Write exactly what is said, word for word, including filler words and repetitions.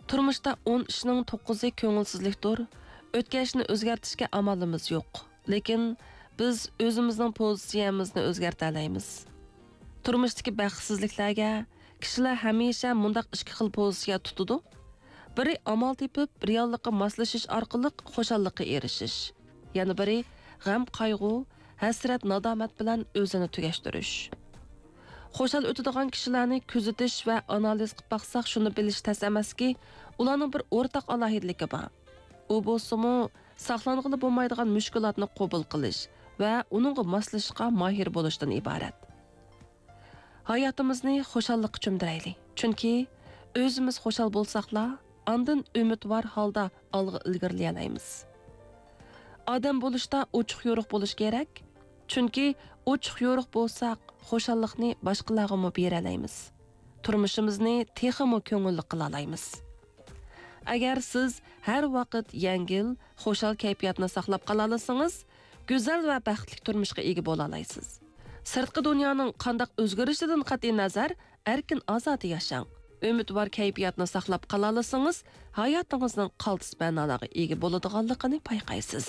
تۇرمۇشتا ئون ئىشنىڭ توققۇزى كۆڭۈلسىزلىكتۇر. ئۆتكەچنى ئۆزگەرتىشكە ئامالىمىز يوق. لېكىن بىز ئۆزىمىزنىڭ پوزىتسىيەمىزنى ئۆزگەرتەلەيمىز. تۇرمۇشتىكى بەختسىزلىكلەرگە كىشىلەر ھەمىشە مۇنداق ئىككى خىل پوزىتسىيە تۇتىدۇ. بىرى ئامال تېپىپ، رېئاللىققا ماسلىشىش ئارقىلىق خۇشاللىققا ئېرىشىش. يەنە بىرى غەم-قايغۇ، ھەسرەت-نادامەت بىلەن ئۆزىنى تۈگەشتۈرۈش. خۇشال ئۆتىدىغان كىشىلەرنى كۆزىتىش ۋە ئانالىز قىلىپ باقساق، شۇنى بىلىش تەس ئەمەسكى، ئۇلارنىڭ بىر ئورتاق ئالاھىدىلىكى بار. ئۇ بولسىمۇ، ساقلانغىلى بولمايدىغان مۈشكۈلاتنى قوبۇل قىلىش ۋە ئۇنىڭغا ماسلىشىشقا ماھىر بولۇشتىن ئىبارەت. ھاياتىمىزنى خۇشاللىققا چۆمدۈرەيلى. چۈنكى ئۆزىمىز خۇشال بولساقلا، ئاندىن ئۈمىدۋار ھالدا ئالغا ئىلگىرىلىيەلەيمىز. ئادەم بولۇشتا ئوچۇق-يورۇق بولۇش كېرەك. چۈنكى ئوچۇق-يورۇق بولساق، خۇشاللىقنى باشقىلارغىمۇ بېرەلەيمىز. تۇرمۇشىمىزنى تېخىمۇ كۆڭۈللۈك قىلالايمىز. ئەگەر سىز ھەر ۋاقىت يەڭگىل، خۇشال كەيپىياتنى ساقلاپ قالالىسىڭىز، گۈزەل ۋە بەختلىك تۇرمۇشقا ئىگە بولالايسىز. سىرتقى دۇنيانىڭ قانداق ئۆزگىرىشىدىن قەتئىينەزەر، ئەركىن-ئازادە ياشاڭ. ئۈمىدۋار كەيپىياتنى ساقلاپ قالالىسىڭىز، ھاياتىڭىزنىڭ قالتىس مەنالارغا ئىگە بولىدىغانلىقىنى بايقايسىز.